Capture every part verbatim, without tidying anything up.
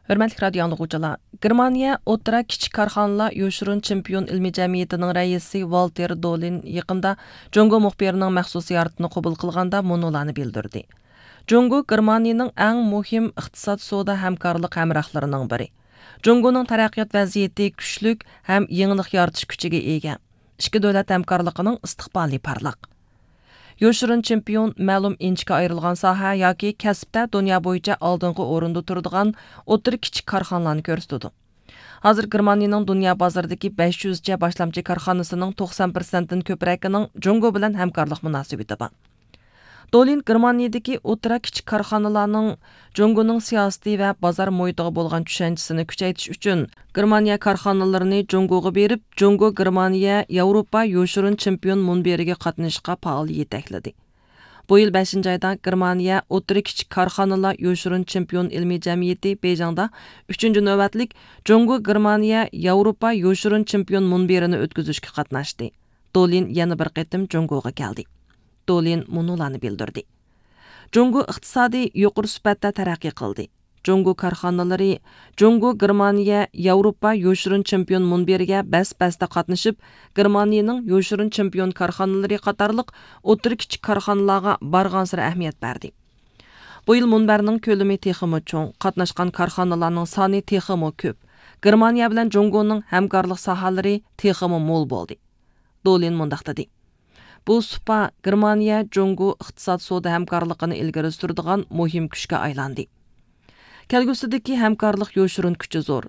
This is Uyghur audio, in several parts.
ھۆرمەتلىك رادىيو ئاڭلىغۇچىلار، گېرمانىيە ئوتتۇرا كىچىك كارخانىلار يوشۇرۇن چېمپىيون ئىلمىي جەمئىيىتىنىڭ رەئىسى ۋالتېر دولىن يېقىندا جۇڭگو مۇخبىرىنىڭ مەخسۇس زىيارىتىنى قوبۇل قىلغاندا مۇنۇلارنى بىلدۈردى: جۇڭگو گېرمانىيىنىڭ ئەڭ مۇھىم ئىقتىساد سودا ھەمكارلىق ھەمراھلىرىنىڭ بىرى. جۇڭگونىڭ تەرەققىيات ۋەزىيىتى كۈچلۈك ھەم يېڭىلىق يارىتىش كۈچىگە ئىگە. ئىككى دۆلەت ھەمكارلىقىنىڭ ئىستىقبالى پارلاق. يوشۇرۇن چېمپىيون مەلۇم ئىنچىكە ئايرىلغان ساھە ياكى كەسىپتە دۇنيا بويىچە ئالدىنقى ئورۇندا تۇرىدىغان ئوتتۇرا كىچىك كارخانىلارنى كۆرسىتىدۇ. ھازىر گېرمانىيىنىڭ دۇنيا بازىرىدىكى بەش يۈزچە باشلامچى كارخانىسىنىڭ توقسان پىرسەنتتىن كۆپرەكىنىڭ جۇڭگو بىلەن ھەمكارلىق مۇناسىۋىتى بار. دولىن گېرمانىيىدىكى ئوتتۇرا كىچىك كارخانىلارنىڭ جۇڭگونىڭ سىياسىتى ۋە بازار مۇھىتىغا بولغان چۈشەنچىسىنى كۈچەيتىش ئۈچۈن، گېرمانىيە كارخانىلىرىنى جۇڭگوغا بېرىپ، جۇڭگو گېرمانىيە ياۋروپا يوشۇرۇن چېمپىيون مۇنبىرىگە قاتنىشىشقا پائال يېتەكلىدى. بۇ يىل بەشىنچى ئايدا گېرمانىيە ئوتتۇرا كىچىك كارخانىلار يوشۇرۇن چېمپىيون ئىلمىي جەمئىيىتى بېيجىڭدا ئۈچىنچى نۆۋەتلىك جۇڭگو گېرمانىيە ياۋروپا يوشۇرۇن چېمپىيون مۇنبىرىنى ئۆتكۈزۈشكە قاتناشتى. دولىن يەنە بىر قېتىم جۇڭگوغا كەلدى. دولىن مۇنۇلارنى بىلدۈردى: جۇڭگو ئىقتىسادى يۇقىرى سۈپەتتە تەرەققىي قىلدى. جۇڭگو كارخانىلىرى جۇڭگو گېرمانىيە ياۋروپا يوشۇرۇن چېمپىيون مۇنبىرىگە بەس بەستە قاتنىشىپ، گېرمانىيىنىڭ يوشۇرۇن چېمپىيون كارخانىلىرى قاتارلىق ئوتتۇرا كىچىك كارخانىلارغا بارغانسېرى ئەھمىيەت بەردى. بۇ يىل مۇنبەرنىڭ كۆلىمى تېخىمۇ چوڭ، قاتناشقان كارخانىلارنىڭ سانى تېخىمۇ كۆپ، گېرمانىيە بىلەن جۇڭگونىڭ ھەمكارلىق ساھەلىرى تېخىمۇ مول بولدى. دولىن مۇنداق دېدى: بۇ سۇپا گېرمانىيە جۇڭگو ئىقتىساد سودا ھەمكارلىقىنى ئىلگىرى سۈرىدىغان مۇھىم كۈچكە ئايلاندى. كەلگۈسىدىكى ھەمكارلىق يوشۇرۇن كۈچى زور.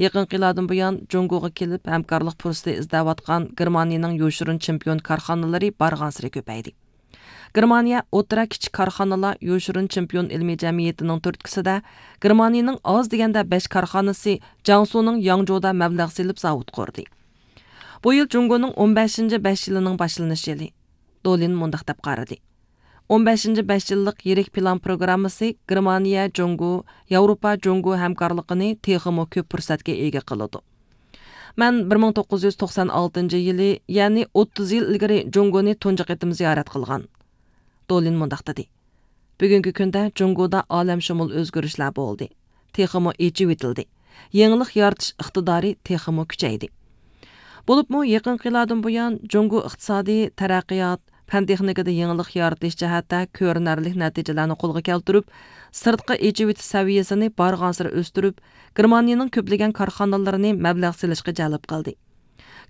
يېقىنقى يىللاردىن بۇيان جۇڭگوغا كېلىپ ھەمكارلىق پۇرسىتى ئىزدەۋاتقان گېرمانىيىنىڭ يوشۇرۇن چېمپىيون كارخانىلىرى بارغانسېرى كۆپەيدى. گېرمانىيە ئوتتۇرا كىچىك كارخانىلار يوشۇرۇن چېمپىيون ئىلمىي جەمئىيىتىنىڭ تۈرتكىسىدە گېرمانىيىنىڭ ئاز دېگەندە بەش كارخانىسى جياڭسۇنىڭ ياڭجۇدا مەبلەغ سېلىپ زاۋۇت قۇردى. بۇ يىل جۇڭگونىڭ ئون بەشىنچى بەش يىلىنىڭ باشلىنىش يىلى. دولىن مۇنداق دەپ قارىدى: ئون بەشىنچى بەش يىللىق يىرىك پىلان پروگراممىسى گېرمانىيە جۇڭگو، ياۋروپا جۇڭگو ھەمكارلىقىنى تېخىمۇ كۆپ پۇرسەتكە ئىگە قىلىدۇ. مەن بىر مىڭ توققۇز يۈز توقسان ئالتىنچى يىلى، يەنى ئوتتۇز يىل ئىلگىرى جۇڭگونى تۇنجى قېتىم زىيارەت قىلغان. دولىن مۇنداق دېدى: بۈگۈنكى كۈندە جۇڭگودا ئالەمشۇمۇل ئۆزگىرىشلەر بولدى. تېخىمۇ ئېچىۋېتىلدى. يېڭىلىق يارىتىش ئىقتىدارى تېخىمۇ كۈچەيدى. بولۇپمۇ يېقىنقى يىللاردىن بۇيان جۇڭگو ئىقتىسادىي تەرەققىيات، پەن تېخنىكىدا يېڭىلىق يارىتىش جەھەتتە كۆرۈنەرلىك نەتىجىلەرنى قولغا كەلتۈرۈپ، سىرتقا ئېچىۋېتىش سەۋىيەسىنى بارغانسېرى ئۆستۈرۈپ، گېرمانىيىنىڭ كۆپلىگەن كارخانىلىرىنى مەبلەغ سېلىشقا جەلپ قىلدى.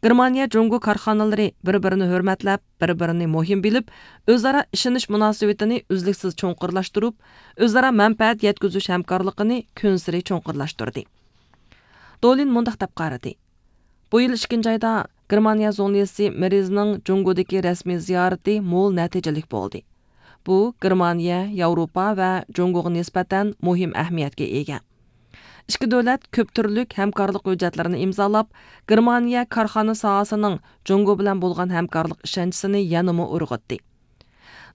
گېرمانىيە جۇڭگو كارخانىلىرى بىر-بىرىنى ھۆرمەتلەپ، بىر-بىرىنى مۇھىم بىلىپ، ئۆزئارا ئىشىنىش مۇناسىۋىتىنى ئۈزلۈكسىز چوڭقۇرلاشتۇرۇپ، ئۆزئارا مەنپەئەت يەتكۈزۈش ھەمكارلىقىنى كۈنسېرى چوڭقۇرلاشتۇردى. دولىن مۇنداق دەپ قارىدى: بۇ يىل ئىككىنچى ئايدا گېرمانىيە زۇڭلىسى مېرزنىڭ جۇڭگودىكى رەسمىي زىيارىتى مول نەتىجىلىك بولدى. بۇ گېرمانىيە، ياۋروپا ۋە جۇڭگوغا نىسبەتەن مۇھىم ئەھمىيەتكە ئىگە. ئىككى دۆلەت كۆپ تۈرلۈك ھەمكارلىق ھۆججەتلىرىنى ئىمزالاپ، گېرمانىيە كارخانا ساھەسىنىڭ جۇڭگو بىلەن بولغان ھەمكارلىق ئىشەنچىسىنى يەنىمۇ ئۇرغۇتتى.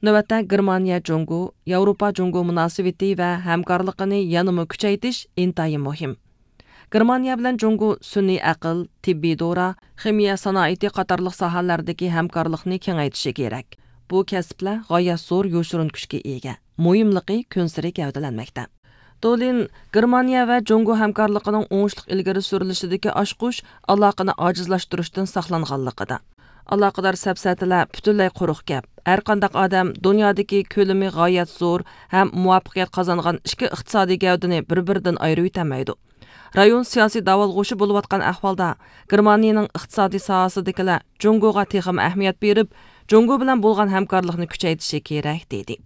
نۆۋەتتە گېرمانىيە جۇڭگو، ياۋروپا جۇڭگو مۇناسىۋىتى ۋە ھەمكارلىقىنى يەنىمۇ كۈچەيتىش ئىنتايىن مۇھىم. گېرمانىيە بىلەن جۇڭگو سۈنئىي ئەقىل، تېببىي دورا، خىمىيە سانائىتى قاتارلىق ساھەلەردىكى ھەمكارلىقنى كېڭەيتىشى كېرەك. بۇ كەسىپلەر غايەت زور يوشۇرۇن كۈچكە ئىگە. مۇھىملىقى كۈنسېرى گەۋدىلەنمەكتە. دولىن گېرمانىيە ۋە جۇڭگو ھەمكارلىقىنىڭ ئوڭۇشلۇق ئىلگىرى سۈرۈلۈشىدىكى ئاچقۇچ ئالاقىنى ئاجىزلاشتۇرۇشتىن ساقلانغانلىقىدا، ئالاقىدار سەپسەتىلەر پۈتۈنلەي قۇرۇق گەپ. ھەرقانداق ئادەم دۇنيادىكى كۆلىمى غايەت زور ھەم مۇۋەپپەقىيەت قازانغان ئىككى ئىقتىسادىي گەۋدىنى بىر-بىرىدىن ئايرىۋېتەلمەيدۇ. رايون سىياسىي داۋالغۇشى بولۇۋاتقان ئەھۋالدا، گېرمانىيىنىڭ ئىقتىسادىي ساھەسىدىكىلەر جۇڭگوغا تېخىمۇ ئەھمىيەت بېرىپ، جۇڭگو بىلەن بولغان ھەمكارلىقنى كۈچەيتىشى كېرەك، دېدى.